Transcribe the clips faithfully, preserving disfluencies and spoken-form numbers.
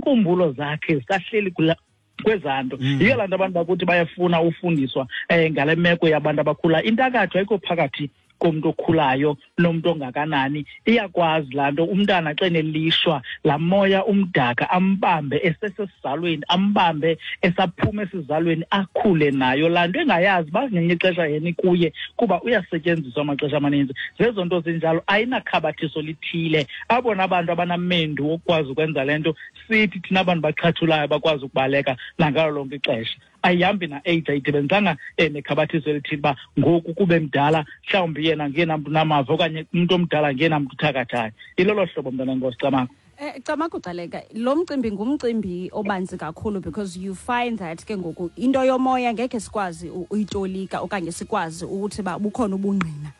Inkumbulo zakhe zisahleli kula kwezanto. Yiyo laa nto abantu bakuthi bayafuna ufundiswa um ngale meko yabantu abakhula. Intakatho ayikho phakathi komntu okhulayo nomntu ongakanani. Iyakwazi laa nto umntana xa enelishwa laa moya umdaka ambambe esesesizalweni, ambambe esaphuma esizalweni, akhule nayo laa nto engayazi uba ngelinye ixesha yena ikuye, kuba uyasetyenziswa amaxesha amaninzi. Zezo nto zinjalo, ayinakhabathiso lithile. Abona abantu abanamendu wokukwazi ukwenza le nto, sithi thina abantu baxhathulayo bakwazi ukubaleka nangalo lonke ixesha. Ayihambi na-age, ayidibenzanga nekhabathiso elithile uba ngoku kube mdala mhlawumbi yena ngeyena mntu unamava okanye umntu omdala ngeyena mntu uthakathayo. Ilolo hlobo, mntana enkosi. Camagu. Eh Camagu Gcaleka, lo mcimbi ngumcimbi obanzi kakhulu, because you find that ke ngoku into yomoya ngekhe sikwazi uyitolika okanye sikwazi ukuthi ba bukhona ubungqina.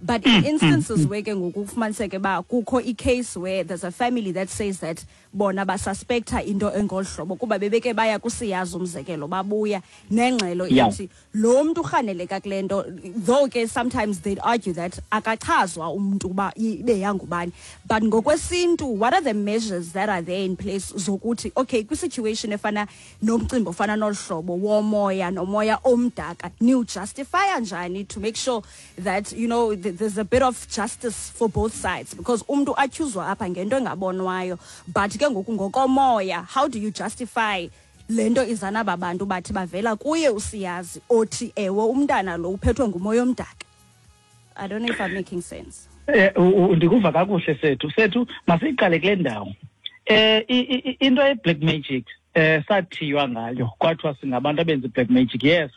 But in instances where ke ngoku kufumaniseke ba kukho i-case where there's a family that says that bona basuspecta into engolu hlobo kuba bebeke baya kusiyazi, umzekelo, babuya nengxelo ithi lo mntu urhaneleka kule nto, though ke sometimes they'd argue that akachazwa umntu uba ibe yangubani. But ngokwesintu, what are the measures that are there in place zokuthi okay, kwi-situation efana nomcimbi ofana nolu hlobo womoya nomoya omdaka, niwujustifya njani to make sure that, you know, there's a bit of justice for both sides? Because umntu atyhuzwa apha ngento engabonwayo, but ke ngoku ngokomoya, how do you justify le nto izana aba bantu bathi bavela kuye usiyazi othi ewe umntana lo uphethwe ngumoya omdaka? I don't know if I'm making sense. Eh ndikuva kakuhle sethu. Sethu, masiyiqale kule ndawo. Eh into ye-black magic eh sathiywa ngayo kwathiwa singabantu abenza i-black magic. Yes,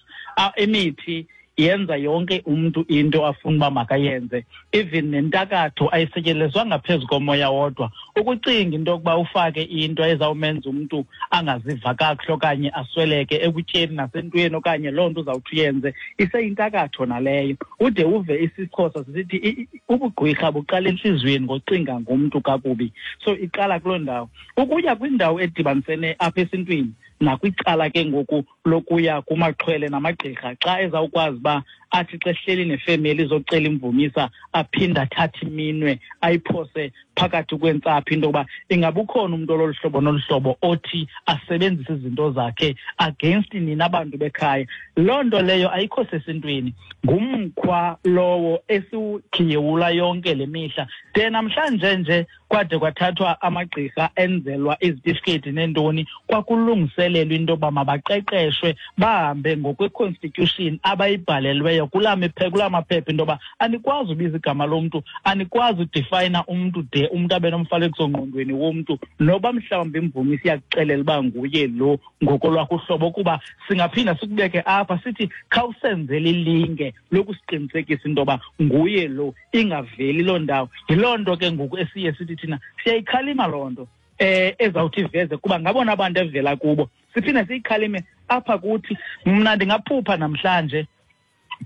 imithi yenza yonke umuntu into afuna uba makayenze, even nentakatho ayisetyenziswa ngaphezu komoya wodwa. Ukucinga into yokuba ufake into ezawumenza umntu angaziva kakuhle okanye asweleke ekutyeni nasentweni okanye loo nto uzawuthi uyenze, iseyintakatho naleyo. Ude uve isiXhosa sisithi ubugqwirha buqala entliziyweni ngocinga ngumntu kakubi. So iqala kuloo ndawo. Ukuya kwindawo edibanisene apha esintwini nakwicala ke ngoku lokuya kumaxhwele namagqirha, xa ezawukwazi uba athi xa ehleli nefemeli izocela imvumisa aphinde athathe iminwe ayiphose phakathi kwentsapho into yokuba ingaba ukhona umntu ololu hlobo nolu hlobo othi asebenzise izinto zakhe against nina bantu bekhaya. Loo nto leyo ayikho sesintwini, ngumkhwa lowo esiwukhiyewula yonke le mihla. De namhlanje nje kwade kwathathwa amagqirha enzelwa izitifiketi neentoni, kwakulungiselelwa into yoba mabaqeqeshwe bahambe ngokwe-constitution abayibhalelweyo kulaa kulaa maphepha, into yoba anikwazi ubiza igama lomntu, anikwazi udefayina umntu de umntu abe nomfanekiso-ngqondweni womntu, noba mhlawumbi imvumi siyakuxelela uba nguye lo ngokolwakho uhlobo, kuba singaphinda sikubeke apha sithi khawusenzele ilinge lokusiqinisekisa into yoba nguye lo, ingaveli loo ndawo. Yiloo nto ke ngoku esiye sithi thina siyayikhalima loo nto eh ezawuthi iveze, kuba ngabona abantu evela kubo. Siphinde siyikhalime apha kuthi. Mna ndingaphupha namhlanje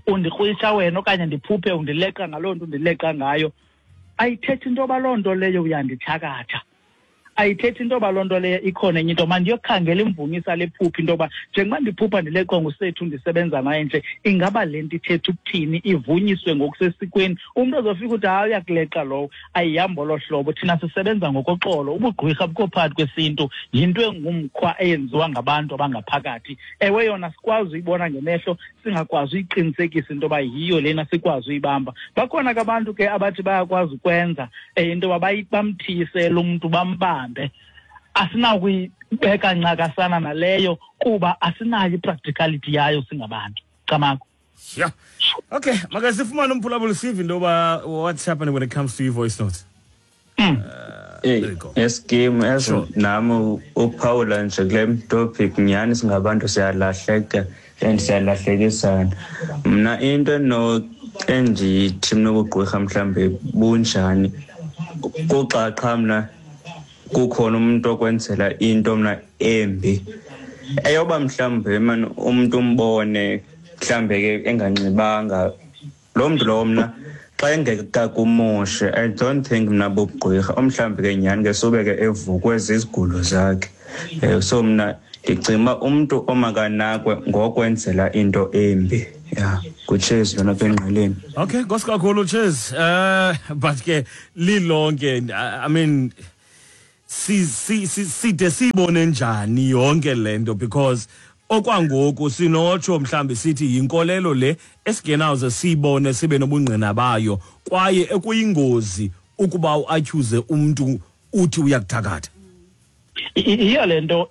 undikrwisha wena okanye ndiphuphe undileqa ngaloo nto undileqa ngayo, ayithethi into yoba loo nto leyo uyandithakatha, ayithethi into yoba loo nto leyo ikhona enye into. Mandiyokhangela imvumisa lephupha into yoba njengoba ndiphupha ndileqwa ngusethu ndisebenza naye nje, ingaba le nto ithetha ukuthini, ivunyiswe ngokusesikweni. Umntu ozofika uthi hayi uyakuleqa lowo, ayihambi olo hlobo. Thina sisebenza ngokoxolo, ubugqwirha bukho phakathi kwesintu, yinto engumkhwa eyenziwa ngabantu abangaphakathi. Ewe yona sikwazi uyibona ngemehlo, singakwazi uyiqinisekisa into yoba yiyo lena, sikwazi uyibamba. Bakhona ke abantu ke abathi bayakwazi ukwenza into yoba bamthiyise lo mntu bambambe. Asinakuyibeka ncakasana naleyo kuba asinayo i-practicality yayo singabantu. Camagu. Yeah. Okay, makasifumane umphulaphuli sive into yoba what's happening when it comes to your voice notes. Mm. Uh, there you go. Esikim as Sure. nami uphawula nje kule topic, nyhani singabantu siyalahleka and siyalahlekisana. Mna into no endithi mna ubugqwirha mhlambe bunjani, kuxa qha mna kukhona umuntu okwenzela into mna embi, eyoba mhlambe man umuntu umbone mhlambe ke enganxibanga lo mntu lowo, mna xa engekakumoshe I don't think mna bubugqwirha, omhlambe ke nyhani ke sube ke evukwe zizigulo zakhe. Eh, so mna ndicinga uba umntu omakanakwe ngokwenzela into embi. Yeah, nguTshezi lona apha engqeleni. Okay, nkosi kakhulu Tshezi. Uh, but ke lilonke, I mean, si si side sibone njani yonke lento, because okwangoku sinotsho mhlambi sithi yinkolelo le esigenawuze sibone sibe nobungqina bayo, kwaye ekuyingozi ukuba uaccuse umuntu uthi uyakuthakatha. Iyo lento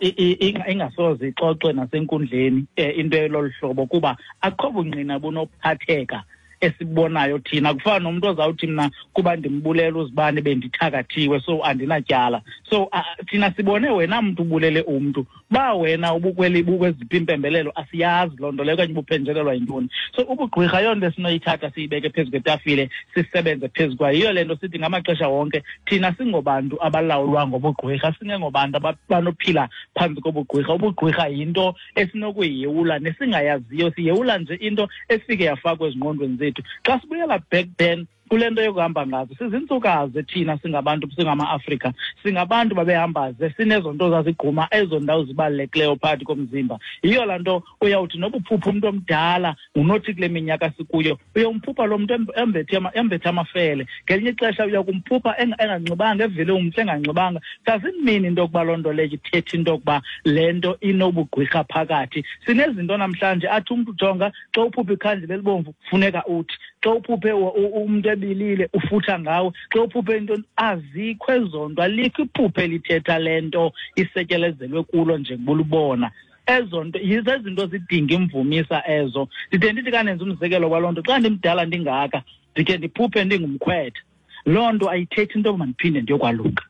ingasoze ixoxwe nasenkundleni into elolu hlobo, kuba akho bungqina bunophatheka esibonayo thina. Kufana nomuntu ozawuthi mna kuba ndimbulela uzibani bendithakathiwe, so andinatyala. So uh, thina sibone wena mntu ubulele umntu, ba wena ubukweli bukweziphi impembelelo asiyazi loo nto leyo, okanye ubuphenjelelwa yintoni. So ubugqwirha yonto esinoyithatha siyibeke phezu kwetafile sisebenze phezu kwayo. Yiyo le nto sithi ngamaxesha wonke thina singobantu abalawulwa ngobugqwirha, singengobantu abanophila phantsi kobugqwirha. Ubugqwirha yinto esinokuyiyewula nesingayaziyo, siyewula nje into efike yafakwa ezingqondweni zethu. Xa sibuyela back then kule nto yokuhamba ngazo, sizintsukazi thina singabantu, singama-Afrika, singabantu babehambaze, sinezo nto zazigquma ezo ndawo zibalulekileyo phakathi komzimba. Yiyo laa nto uyawuthi noba uphupha umntu omdala unothi kule minyaka sikuyo, uyawumphupha lo mntu embethe embethe amafele. Ngelinye ixesha uyakumphupha enganxibanga, evele umhle enganxibanga. Doesn't into yokuba loo nto leyo ithetha into yokuba le nto inobugqwirha phakathi. Sinezinto namhlanje athi umntu jonga, xa uphupha ikhandlela elibomvu funeka uthi, xa uphuphe umntu ebilile ufutha ngawe, xa uphuphe into, azikho ezo nto, alikho iphuphe elithetha le nto isetyelezelwe kulo njengoba ezo nto. Yizezinto zidinga imvumisa ezo. Ndide ndithi kanenza umzekelo kwaloo nto, xa ndimdala ndingaka ndikhe ndiphuphe ndingumkhwetha, loo nto ayithethi into yoba mandiphinde ndiyokwaluka,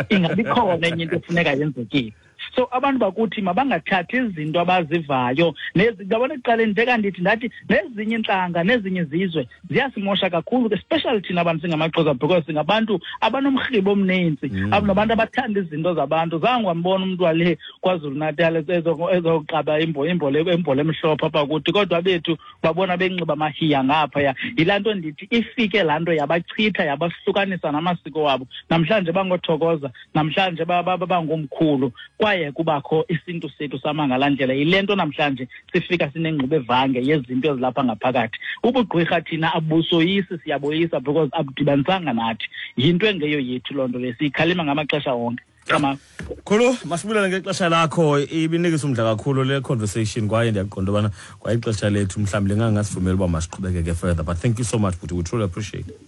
ingabi khona enye into efuneka yenzekile. So abantu bakuthi mabangathathi izinto abazivayo nezi. Yabona, ekuqaleni nje kandithi ndathi nezinye iintlanga nezinye izizwe ziyasimosha kakhulu, especially thina abantu singamaXhosa, because singabantu abanomrhibo omninzi, mm. nabantu abathanda izinto zabantu. Zange wambona umntu wale KwaZulu Natal ezoqaba imbola emhlophe apha kuthi, kodwa bethu babona benxiba amahiya ngaphaya. Yilaa nto ndithi ifike laa nto yabachitha, yabahlukanisa namasiko wabo. Namhlanje bangothokoza, namhlanje bangomkhulu, kwaye kubakho isintu sethu sama ngalaa ndlela. Yile nto namhlanje sifika sinengxube evange yezinto ezilapha ngaphakathi. Ubugqwirha thina abusoyisi, siyaboyisa, because abudibanisanga nathi, yinto engeyo yethu loo nto le, siyikhalima ngamaxesha wonke. Khulu, masibulele ngexesha lakho. Ibinikisa umdla kakhulu le conversation, kwaye ndiyaqonda ubana kwaye ixesha lethu mhlawumbi lingangasivumeli uba masiqhubekeke further, but thank you so much bhuti, we truly appreciate it.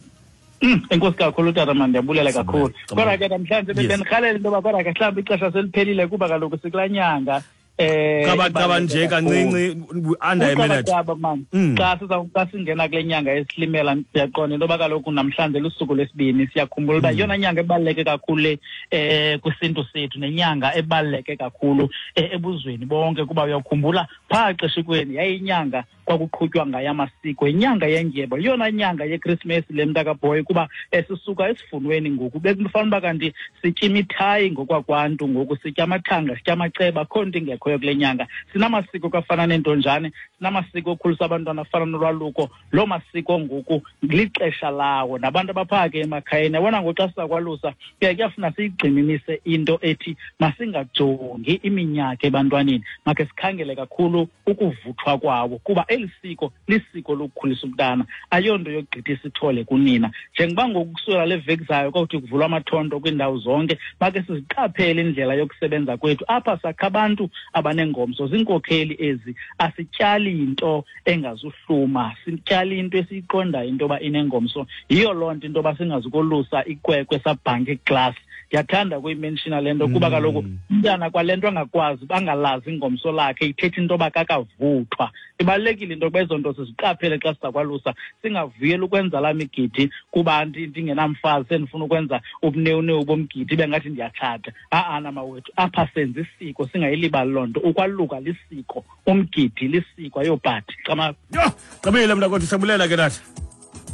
Enkosi kakhulu tata, man, ndiyabulela kakhulu. Kodwa ke namhlanje bendirhalela into yoba kodwa ke mhlawumbi ixesha seliphelile, kuba kaloku sikulaa nyanga. Eh qaba qaba nje kancinci, under a minute. Qaba man. Xa siza xa singena kule nyanga esilimela, siyaqonda into yoba kaloku namhlanje lusuku lwesibini. Siyakhumbula uba yeyona nyanga ebaluleke kakhulu le eh kwisintu sethu, nenyanga ebaluleke kakhulu ebuzweni bonke, kuba uyakhumbula phaa xeshikweni yayinyanga kwakuqhutywa ngayo amasiko, inyanga yendyebo, yeyona nyanga yeKrismesi le, mntakabhoyi, kuba sisuka esivunweni ngoku. Bekufanele uba kanti sitya imithayi ngokwakwantu, ngoku sitya amathanga, sitya amaceba, akho nto ingekhoyo kule nyanga. Sinamasiko kafana nentonjane, sinamasiko okhulisa abantwana afana nolwaluko. Loo masiko ngoku lixesha lawo, nabantu abaphaa ke emakhayeni. Yabona ngoku xa siza kwalusa kuye kuyafuna siyigxininise into ethi masingajongi iminyaka ebantwaneni, makhe sikhangele kakhulu ukuvuthwa kwawo, kuba eli siko lisiko lokukhulisa umntana, ayonto yokugqithisa ithole kunina. Njengoba ngoku kusukela le veki zayo kwawuthi kuvulwa amathonto kwiindawo zonke, makhe siziqaphele indlela yokusebenza kwethu apha. Sakha abantu abanengomso, ziinkokheli ezi. Asityali nto engazuhluma, sityali into esiyiqondayo into yoba inengomso. Yiyo loo nto into yoba singazukolusa ikwekwe sabhanka iglasi. Ndiyathanda ukuyimenshina le nto, kuba kaloku umntana kwale nto angakwazi angalazi ingomso lakhe ithetha into yoba kakavuthwa. Ibalulekile into yokuba ezo nto siziqaphele xa siza kwalusa, singavuyeli ukwenza laa migidi kuba ndingenamfazi sendifuna ukwenza ubunewunewu bomgidi ibe ngathi ndiyatshata. Ha-ana mawethu, apha senza isiko, singayilibali loo nto. Ukwaluka lisiko, umgidi lisiko, ayobhadi. Cama. Yho, gqibile mntakwethu, siyabulela ke tata.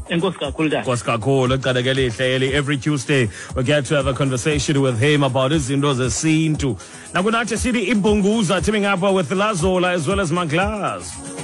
Enkosi kakhulu tata. Nkosi kakhulu, ecaleke elihle eli. Every Tuesday we get to have a conversation with him about izinto zesintu. Nakunathi sithi Ibhunguza teaming up with Lazola as well as Maglass.